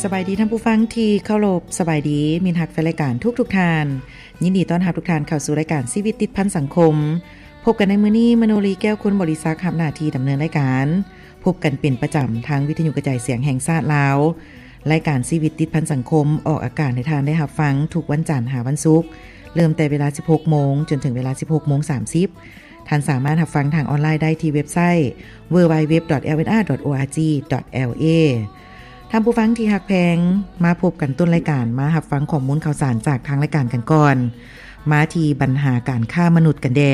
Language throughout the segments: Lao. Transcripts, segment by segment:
ສະບາຍດີທ່ານຜູ້ຟັງທີ່ເຄົາລົບ, ສະບາຍດີມິດຮັກແຟນລາຍການທຸກໆທ່ານ. ຍິນດີຕ້ອນຮັບທຸກທ່ານເຂົ້າສູ່ລາຍການຊີວິດຕິດພັນສັງຄົມ. ພົບກັນໃນມື້ນີ້, ມະໂນລີ ແກ້ວຄຸນ ບໍລິສັກ ຮັບໜ້າທີ່ດຳເນີນລາຍການ. ພົບກັນເປັນປະຈຳທາງວິທະຍຸກະຈາຍສຽງແຫ່ງຊາດລາວ. ລາຍການຊີວິດຕິດພັນສັງຄົມອອກອາກາດໃຫ້ທ່ານໄດ້ຮັບຟັງທຸກວັນຈັນຫາວັນສຸກ, ເລີ່ມແຕ່ເວລາສິບຫົກໂມງຈົນເຖິງເວລາສິບຫົກໂມງສາມສິບ. ທ່ານສາມາດຮັບຟັງທາງອອນລາຍໄດ້ທີ່ເວັບໄຊ www.lnr.org.la. ທ່ານຜູ້ຟັງທີ່ຮັກແພງ, ມາພົບກັນຕົ້ນລາຍການ, ມາຮັບຟັງຂໍ້ມູນຂ່າວສານຈາກທາງລາຍການກັນກ່ອນ. ມາທີ່ບັນຫາການຄ້າມະນຸດກັນແດ່.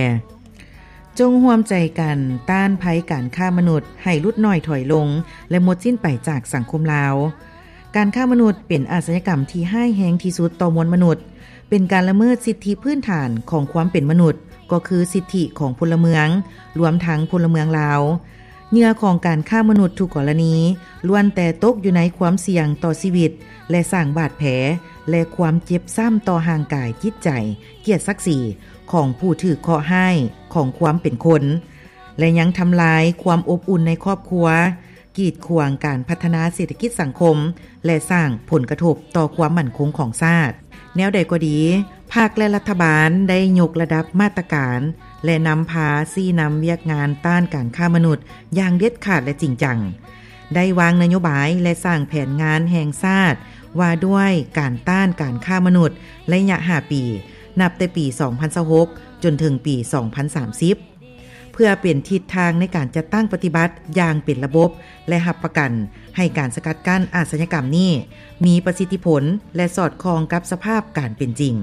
ຈົ່ງຮ່ວມໃຈກັນຕ້ານໄພການຄ້າມະນຸດໃຫ້ຫຼຸດໜ້ອຍຖອຍລົງ ແລະ ໝົດສິ້ນໄປຈາກສັງຄົມລາວ. ການຄ້າມະນຸດເປັນອາຊະຍາກຳທີ່ຮ້າຍແຮງທີ່ສຸດຕໍ່ມວນມະນຸດ, ເປັນການລະເມີດສິດທິພື້ນຖານຂອງຄວາມເປັນມະນຸດ, ກໍຄືສິດທິຂອງພົນລະເມືອງ, ລວມທັງພົນລະເມືອງລາວ. ເຫຍື່ອຂອງການຄ້າມະນຸດທຸກກໍລະນີ ລ້ວນແຕ່ຕົກຢູ່ໃນຄວາມສ່ຽງຕໍ່ຊີວິດ ແລະ ສ້າງບາດແຜ ແລະ ຄວາມເຈັບຊ້ຳຕໍ່ຮ່າງກາຍ, ຈິດໃຈ, ກຽດສັກສີຂອງຜູ້ຖືກເຄາະຮ້າຍຂອງຄວາມເປັນຄົນ ແລະ ຍັງທຳລາຍຄວາມອົບອຸ່ນໃນຄອບຄົວ, ກີດຂວາງການພັດທະນາເສດຖະກິດສັງຄົມ ແລະ ສ້າງຜົນກະທົບຕໍ່ຄວາມໝັ້ນຄົງຂອງຊາດ. ແນວໃດກໍດີ, ພັກ ແລະ ລັດຖະບານໄດ້ຍົກລະດັບມາດຕະການ ແລະ ນຳພາຊີ້ນຳວຽກງານຕ້ານການຄ້າມະນຸດຢ່າງເດັດຂາດ ແລະ ຈິງຈັງ, ໄດ້ວາງນະໂຍບາຍ ແລະ ສ້າງແຜນງານແຫ່ງຊາດວ່າດ້ວຍການຕ້ານການຄ້າມະນຸດໄລຍະຫ້າປີ, ນັບແຕ່ປີສອງພັນຊາວຫົກຈົນເຖິງປີສອງພັນສາມສິບ. ເພື່ອເປັນທິດທາງໃນການຈັດຕັ້ງປະຕິບັດຢ່າງເປັນລະບົບ ແລະ ຮັບປະກັນໃຫ້ການສະກັດກັ້ນອາຊະຍາກຳນີ້ມີປະສິດທິຜົນ ແລະ ສອດຄ່ອງກັບສະພາບການເປັນຈິງ.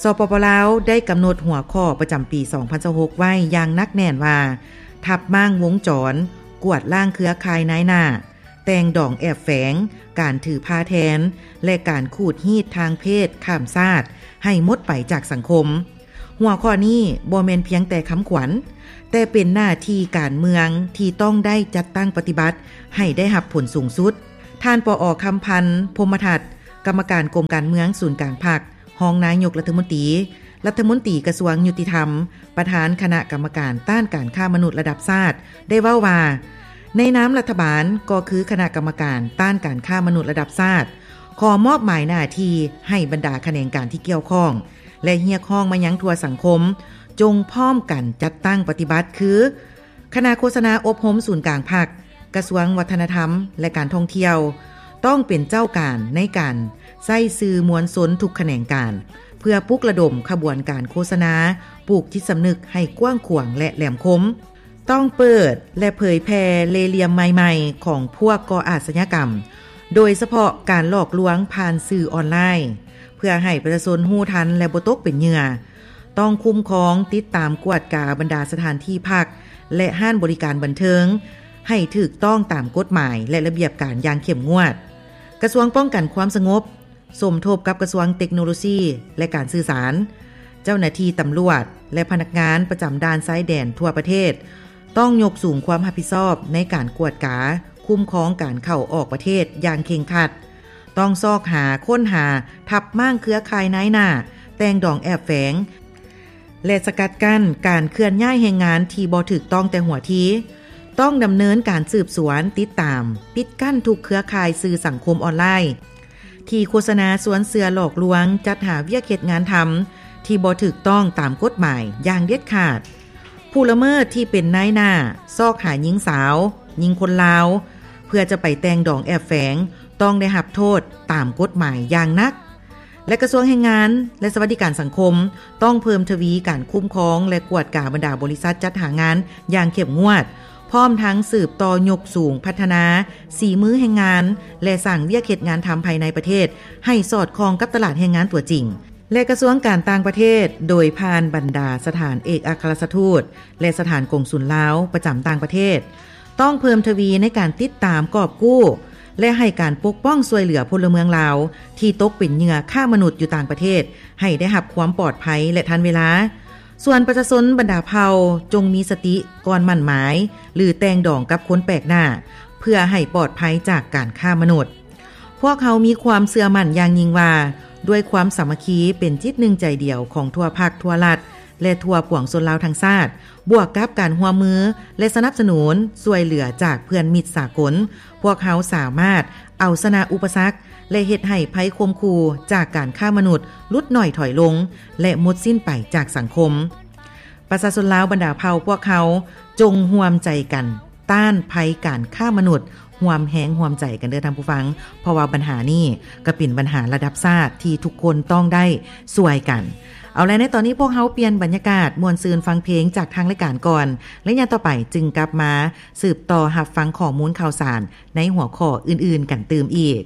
ສປປ ລາວ ໄດ້ກຳນົດຫົວຂໍ້ປະຈຳປີສອງພັນຊາວຫົກໄວ້ຢ່າງໜັກແໜ້ນວ່າ ທັບມ້າງວົງຈອນ, ກວາດລ້າງເຄືອຂ່າຍນາຍໜ້າ, ແຕ່ງດອງແອບແຝງ, ການຖືພາແທນ ແລະ ການຂູດຮີດທາງເພດຂ້າມຊາດໃຫ້ໝົດໄປຈາກສັງຄົມ. ຫົວຂໍ້ນີ້ບໍ່ແມ່ນພຽງແຕ່ຄຳຂວັນ, ແຕ່ເປັນໜ້າທີ່ການເມືອງທີ່ຕ້ອງໄດ້ຈັດຕັ້ງປະຕິບັດໃຫ້ໄດ້ຮັບຜົນສູງສຸດ. ທ່ານ ປອ ຄຳພັນ ພົມມະທັດ, ກຳມະການກົມການເມືອງສູນກາງພັກ, ຮອງນາຍົກລັດຖະມົນຕີ, ລັດຖະມົນຕີກະຊວງຍຸຕິທຳ, ປະທານຄະນະກຳມະການຕ້ານການຄ້າມະນຸດລະດັບຊາດ ໄດ້ເວົ້າວ່າ, ໃນນາມລັດຖະບານ ກໍຄືຄະນະກຳມະການຕ້ານການຄ້າມະນຸດລະດັບຊາດ ຂໍມອບໝາຍໜ້າທີ່ໃຫ້ບັນດາຂະແໜງການທີ່ກ່ຽວຂ້ອງ ແລະ ຮຽກຮ້ອງມາຍັງທົ່ວສັງຄົມ ຈົ່ງພ້ອມກັນຈັດຕັ້ງປະຕິບັດ ຄື ຄະນະໂຄສະນາອົບຮົມສູນກາງພັກ, ກະຊວງວັດທະນະທຳ ແລະ ການທ່ອງທ່ຽວ ຕ້ອງເປັນເຈົ້າການໃນການໃຊ້ສື່ມວນຊົນທຸກຂະແໜງການ ເພື່ອປຸກລະດົມຂະບວນການໂຄສະນາ, ປູກຈິດສຳນຶກໃຫ້ກວ້າງຂວາງ ແລະ ແຫຼມຄົມ. ຕ້ອງເປີດ ແລະ ເຜີຍແຜ່ເລ່ຫຼ່ຽມໃໝ່ໆຂອງພວກກໍ່ອາຊະຍາກຳ, ໂດຍສະເພາະການຫຼອກລວງຜ່ານສື່ອອນລາຍ, ເພື່ອໃຫ້ປະຊາຊົນຮູ້ທັນ ແລະ ບໍ່ຕົກເປັນເຫຍື່ອ. ຕ້ອງຄຸ້ມຄອງ, ຕິດຕາມ, ກວດກາບັນດາສະຖານທີ່ພັກ ແລະ ຮ້ານບໍລິການບັນເທີງ ໃຫ້ຖືກຕ້ອງຕາມກົດໝາຍ ແລະ ລະບຽບການຢ່າງເຂັ້ມງວດ. ກະຊວງປ້ອງກັນຄວາມສະຫງົບ ສົມທົບກັບກະຊວງເຕັກໂນໂລຊີ ແລະ ການສື່ສານ, ເຈົ້າໜ້າທີ່ຕຳຫຼວດ ແລະ ພະນັກງານປະຈຳດ່ານຊາຍແດນທົ່ວປະເທດ ຕ້ອງຍົກສູງຄວາມຮັບຜິດຊອບໃນການກວດກາ, ຄຸ້ມຄອງການເຂົ້າອອກປະເທດຢ່າງເຄັ່ງຄັດ. ຕ້ອງຊອກຫາ, ຄົ້ນຫາ, ທັບມ້າງເຄືອຂ່າຍນາຍໜ້າ, ແຕ່ງດອງແອບແຝງ ແລະ ສະກັດກັ້ນການເຄື່ອນຍ້າຍແຮງງານທີ່ບໍ່ຖືກຕ້ອງແຕ່ຫົວທີ. ຕ້ອງດຳເນີນການສືບສວນ, ຕິດຕາມ, ປິດກັ້ນທຸກເຄືອຂ່າຍສື່ສັງຄົມອອນລາຍ ທີ່ໂຄສະນາຊວນເຊື່ອຫຼອກລວງ, ຈັດຫາວຽກເຮັດງານທຳທີ່ບໍ່ຖືກຕ້ອງຕາມກົດໝາຍຢ່າງເດັດຂາດ. ຜູ້ລະເມີດທີ່ເປັນນາຍໜ້າ ຊອກຫາຍິງສາວ, ຍິງຄົນລາວ ເພື່ອຈະໄປແຕ່ງດອງແອບແຝງ ຕ້ອງໄດ້ຮັບໂທດຕາມກົດໝາຍຢ່າງໜັກ. ແລະ ກະຊວງແຮງງານ ແລະ ສະຫວັດດີການສັງຄົມ ຕ້ອງເພີ່ມທະວີການຄຸ້ມຄອງ ແລະ ກວດກາບັນດາບໍລິສັດຈັດຫາງານຢ່າງເຂັ້ມງວດ, ພ້ອມທັງສືບຕໍ່ຍົກສູງພັດທະນາສີມືແຮງງານ ແລະ ສ້າງວຽກເຮັດງານທຳພາຍໃນປະເທດໃຫ້ສອດຄ່ອງກັບຕະຫຼາດແຮງງານຕົວຈິງ. ແລະ ກະຊວງການຕ່າງປະເທດ ໂດຍຜ່ານບັນດາສະຖານເອກອັກຄະລັດຖະທູດ ແລະ ສະຖານກົງສຸນລາວປະຈຳຕ່າງປະເທດ ຕ້ອງເພີ່ມທະວີໃນການຕິດຕາມ, ກອບກູ້ ແລະ ໃຫ້ການປົກປ້ອງຊ່ວຍເຫຼືອພົນລະເມືອງລາວທີ່ຕົກເປັນເຫຍື່ອຄ້າມະນຸດຢູ່ຕ່າງປະເທດ ໃຫ້ໄດ້ຮັບຄວາມປອດໄພ ແລະ ທັນເວລາ. ສ່ວນປະຊາຊົນບັນດາເຜົ່າ ຈົ່ງມີສະຕິກ່ອນໝັ້ນໝາຍ ຫຼື ແຕ່ງດອງກັບຄົນແປກໜ້າ ເພື່ອໃຫ້ປອດໄພຈາກການຄ້າມະນຸດ. ພວກເຮົາມີຄວາມເຊື່ອໝັ້ນຢ່າງຍິ່ງວ່າ ດ້ວຍຄວາມສາມັກຄີເປັນຈິດໜຶ່ງໃຈດຽວຂອງທົ່ວພັກທົ່ວລັດ ແລະທົ່ວປວງຊົນລາວທັງຊາດ ບວກກັບການຮ່ວມມື ແລະສະໜັບສະໜູນຊ່ວຍເຫຼືອຈາກເພື່ອນມິດສາກົນ ພວກເຮົາສາມາດເອົາຊະນະອຸປະສັກ ແລະເຮັດໃຫ້ໄພຂົ່ມຂູ່ຈາກການຄ້າມະນຸດຫຼຸດໜ້ອຍຖອຍລົງ ແລະໝົດສິ້ນໄປຈາກສັງຄົມ. ປະຊາຊົນລາວບັນດາເຜົ່າພວກເຮົາ ຈົ່ງຮ່ວມໃຈກັນຕ້ານໄພການຄ້າມະນຸດ ຮ່ວມແຮງຮ່ວມໃຈກັນເດີທ່ານຜູ້ຟັງ ເພາະວ່າບັນຫານີ້ກໍເປັນບັນຫາລະດັບຊາດທີ່ທຸກຄົນຕ້ອງໄດ້ຊ່ວຍກັນ. ເອົາລະ ໃນຕອນນີ້ພວກເຮົາປ່ຽນບັນຍາກາດ ມ່ວນຊື່ນຟັງເພງຈາກທາງລາຍການກ່ອນ ໄລຍະຕໍ່ໄປຈຶ່ງກັບມາສືບຕໍ່ຮັບຟັງຂໍ້ມູນຂ່າວສານໃນຫົວຂໍ້ອື່ນໆກັນຕື່ມອີກ.